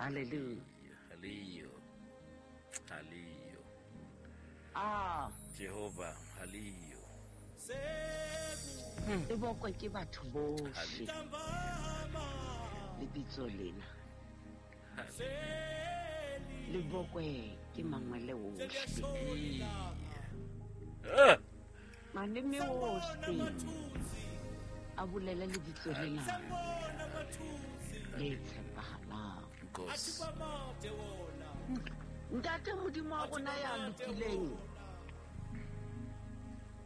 Halleluja. Haleyo. Haleyo. Ah. Jehova, haleyo. E bokwe ke batho bohle. Lebitso lena. Le bokwe ke mangwele ohle. Ah! Maleme ohle a bolele lebitso lena le tshepahalang. Nkosi. Ntate Modimo wa rona ya lokileng,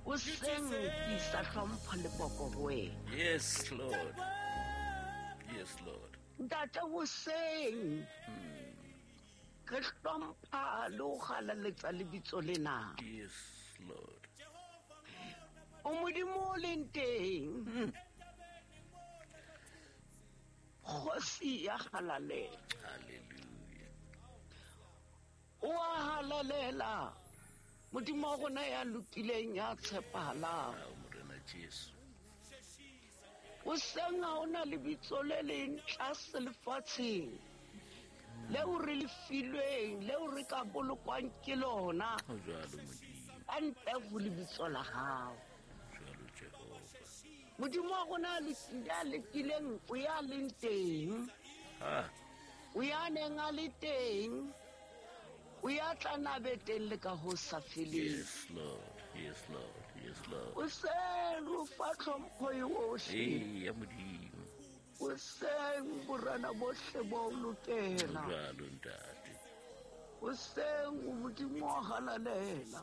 o seng ke isa hlompho le poko ho wena. Yes, Lord. Yes, Lord. Ntate hoseng re hlompha le ho galaletsa lebitso lena. Yes, Lord. O Modimo o leng teng. Kgosi ya halalela. Hallelujah. O a halalela. Modimo wa rona ya lokileng ya tshepahalang. Ao Morena Jesu. Hoseng ha hona lebitso le leng tlase lefatsheng leo re le filweng, leo re ka bolokwang ke lona. Ho jwalo Modimo. Ka ntle ho lebitso la hao. Jwalo Jehova. Modimo wa rona ya lokileng o ya leng teng. Ah, O ya neng a le teng. O ya tla nabe teng le ka ho sa feleng. yes, Lord. Yes, Lord. Yes, Lord. O seng o fa tlhompho yohle. Ee, ya Modimo. O seng borena bohle bo o Ho lokela. jwalo ntate. O seng o Modimo wa halalela.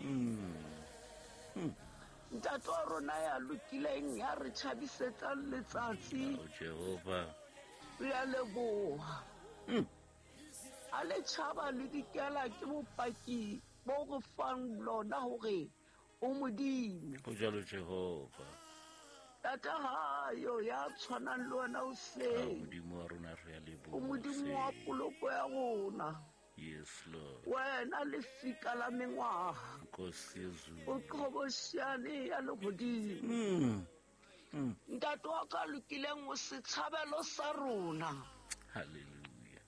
Ntate wa rona ya lokileng ya re tjhabisetsang letsatsi. Ao Jehova. Re a leboha. A le tjhaba le dikela ke bopaki bo re fang lona hore o Modimo. Ho jwalo Jehova. Tata hayo ya tshwanang le wena o Ao seng. Modimo wa rona re a leboha. O Modimo wa poloko ya rona. Yes, Lord. Wena lefika la mengwaha. Nkosi yezulu. O qhobosheane ya lehodimo. Ntate wa ka lokileng o setshabelo sa rona. Hallelujah.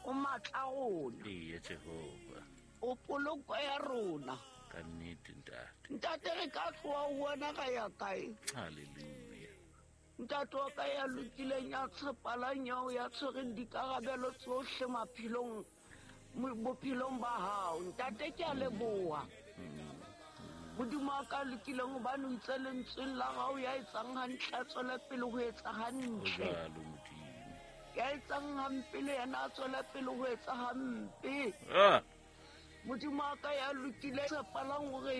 O matla rona. Ee, Jehova. O poloko ya rona. Ka nnete ntate. Ntate re ka tloha ho wena ra ya kae? Hallelujah. Ntate wa ka ya lokileng ya tshepalang yao ya tshwereng dikarabelo tsohle maphelong bophelong ba hao. Ntate ke a leboha. Modimo wa ka lokileng hobane o itse lentsweng la hao ya etsang hantle a tswele pele ho etsa Ho hantle. jwalo Modimo. Ya etsang hampe le yena a tswele pele ho etsa hampe. Ah, Modimo wa ka ya lokile tshepalang hore